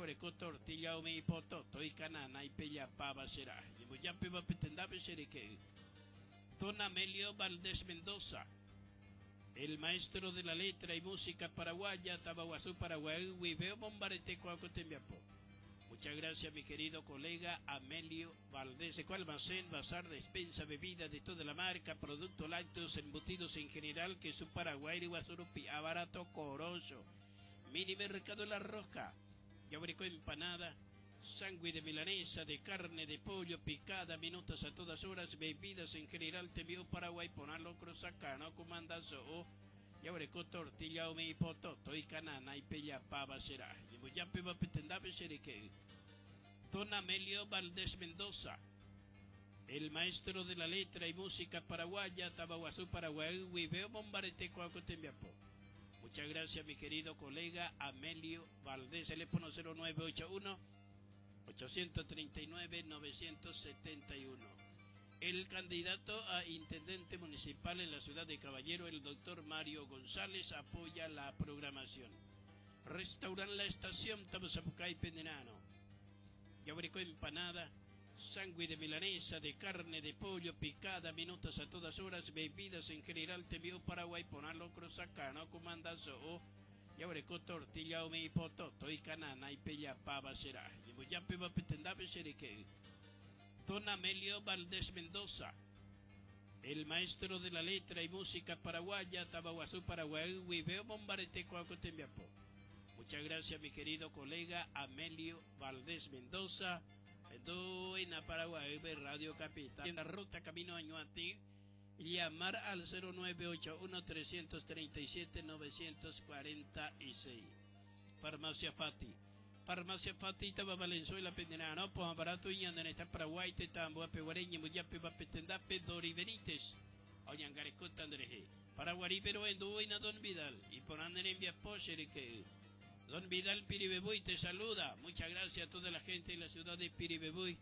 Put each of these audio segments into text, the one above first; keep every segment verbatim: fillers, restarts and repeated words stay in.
Yaguereko tortilla umi ipototo ikanana ipejapáva será. Ñembojápeva petendápe chereke'y. Don Amelio Valdés Mendoza, el maestro de la letra y música paraguaya, Tabaguazú, Paraguay, Huiveo, Bombarete, Cuaco, Tembiapo. Muchas gracias, mi querido colega Amelio Valdés. De almacén, bazar, despensa, bebida de toda la marca, productos lácteos, embutidos en general, que su Paraguay, Guasurupi, abarato, coroso. Mini mercado La Roja. Yabrico empanada, sándwich de milanesa, de carne, de pollo, picada, minutos a todas horas, bebidas en general, te vio Paraguay, ponalo, cruzacano, comandazo, o yabrico tortilla, umi, pototo, y canana, y pellapava será. Yemboyape, petendape, que Don Amelio Valdés Mendoza, el maestro de la letra y música paraguaya, Tabaguazú, Paraguay, Huiveo, Bombarete, Cuaco, Tembiapo. Muchas gracias, mi querido colega Amelio Valdés, teléfono cero nueve ocho uno, ochocientos treinta y nueve, novecientos setenta y uno. El candidato a intendente municipal en la ciudad de Caballero, el doctor Mario González, apoya la programación. Restauran la estación Tabasapucay Pendenano. Yabrico empanada, sándwich de milanesa, de carne, de pollo, picada, minutos a todas horas, bebidas en general, te vio Paraguay, ponalo, cruzacano, comandazo, o yabrico tortilla, umi, pototo, y canana, y pellapava será. Yemboyape, petendape, sereque. Don Amelio Valdés Mendoza, el maestro de la letra y música paraguaya, Tabaguazú, Paraguay, Huiveo, Bombarete, Cuaco, Tembiapo. Muchas gracias, mi querido colega Amelio Valdés Mendoza. En Paraguay, Radio Capital, en la ruta Camino Añuati, llamar al cero nueve ocho uno, trescientos treinta y siete, novecientos cuarenta y seis. Farmacia Fati. Farmacia Fati, Taba Valenzuela, Pendenano, Poja Barato, y Andaneta, Paraguay, Tetambo, Peguareña, Muyape, Bapetendape, Dori Benítez, Oñangarecota, Andreje. Paraguarí, pero en Duina, Don Vidal, y por André en Viapocher, que Don Vidal Piribebuy te saluda. Muchas gracias a toda la gente de la ciudad de Piribebuy.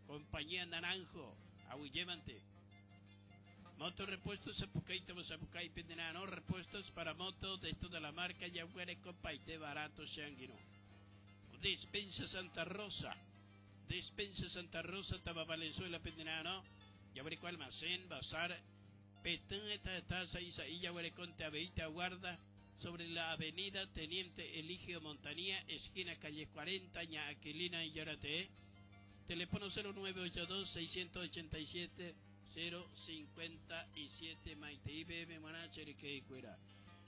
Compañía Naranjo, Aguillévante. Motorrepuestos Zapucay, Tabo Zapucay, Pendenano, repuestos para moto de toda la marca, Yaguare, Copaite, barato, Shanguino. Despensa Santa Rosa. Despensa Santa Rosa, Taba Valenzuela, Pendenano. Yaguareco Almacén, Bazar, Petén, Taza, Isaí, Yaguareco, Teabeita, Guarda. Sobre la avenida Teniente Eligio Montanía, esquina calle cuarenta, Ña Aquilina y Yarate. Teléfono cero nueve ocho dos, seiscientos ochenta y siete, cero cincuenta y siete, Maite I B M, Manacher, que cuera.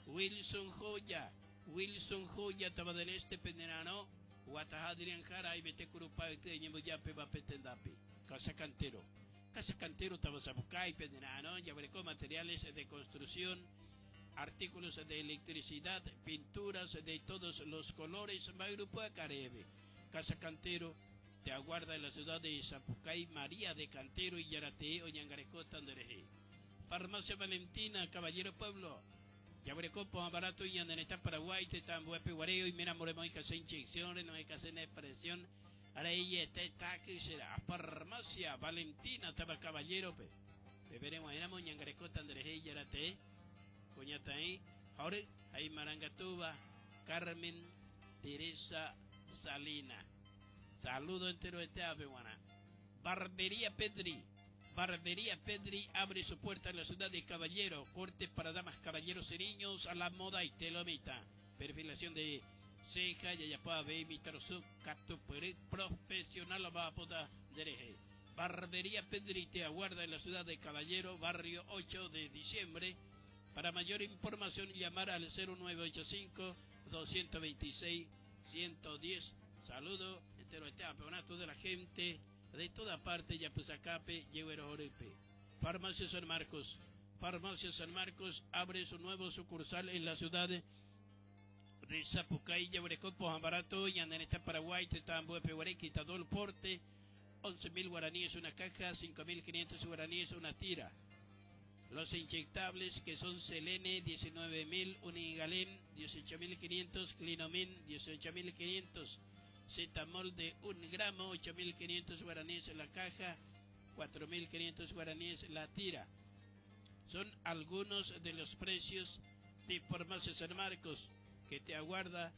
Wilson Joya, Wilson Joya, Taba del Este, Pendenano, Guatajadrian Jara, y Bete Curupa, Ñemboyape, Bapetendapi. Casa Cantero, Casa Cantero, Tabasabucay, Pendenano, Yaburecó, materiales de construcción, artículos de electricidad, pinturas de todos los colores, Magrupo Carebe. Casa Cantero te aguarda en la ciudad de Zapucay, María de Cantero y Yarate, Oñangareco, Tandereje. Farmacia Valentina, Caballero Pueblo. Yaburecó, Barato y Andaneta, Paraguay, Tetambuepe, Guareo y Mera Moremo y Casa Inyección, no hay casa de presión. Ahora ella está, está, que será. Farmacia Valentina, Taba Caballero, pe. Beberemos en Oñangareco, Tandereje y Yarate. Cuñataí, ahora hay Marangatuba, Carmen Teresa Salina. Saludo entero de Teape, guana. Barbería Pedri. Barbería Pedri abre su puerta en la ciudad de Caballero. Corte para damas, caballeros y niños a la moda y telomita. Perfilación de ceja, yayapá, baby, tarzu, cato, profesional, va a poder dereje. Barbería Pedri te aguarda en la ciudad de Caballero, barrio ocho de diciembre. Para mayor información, llamar al cero nueve ocho cinco, doscientos veintiséis, ciento diez. Saludo entero este campeonato de la gente de toda parte, Yapuzacape, Yeguero Jorepe. Farmacia San Marcos. Farmacia San Marcos abre su nuevo sucursal en la ciudad de Zapucay, Yaburecó, Pojambarato, y Andaneta, Paraguay, Tetambo, Peguaré, Quitadol, Porte. once mil guaraníes una caja, cinco mil quinientos guaraníes una tira. Los inyectables que son Selene, diecinueve mil, Unigalén, dieciocho mil quinientos, Clinomin, dieciocho mil quinientos, Cetamol de un gramo, ocho mil quinientos guaraníes la caja, cuatro mil quinientos guaraníes la tira. Son algunos de los precios de Farmacia San Marcos, que te aguarda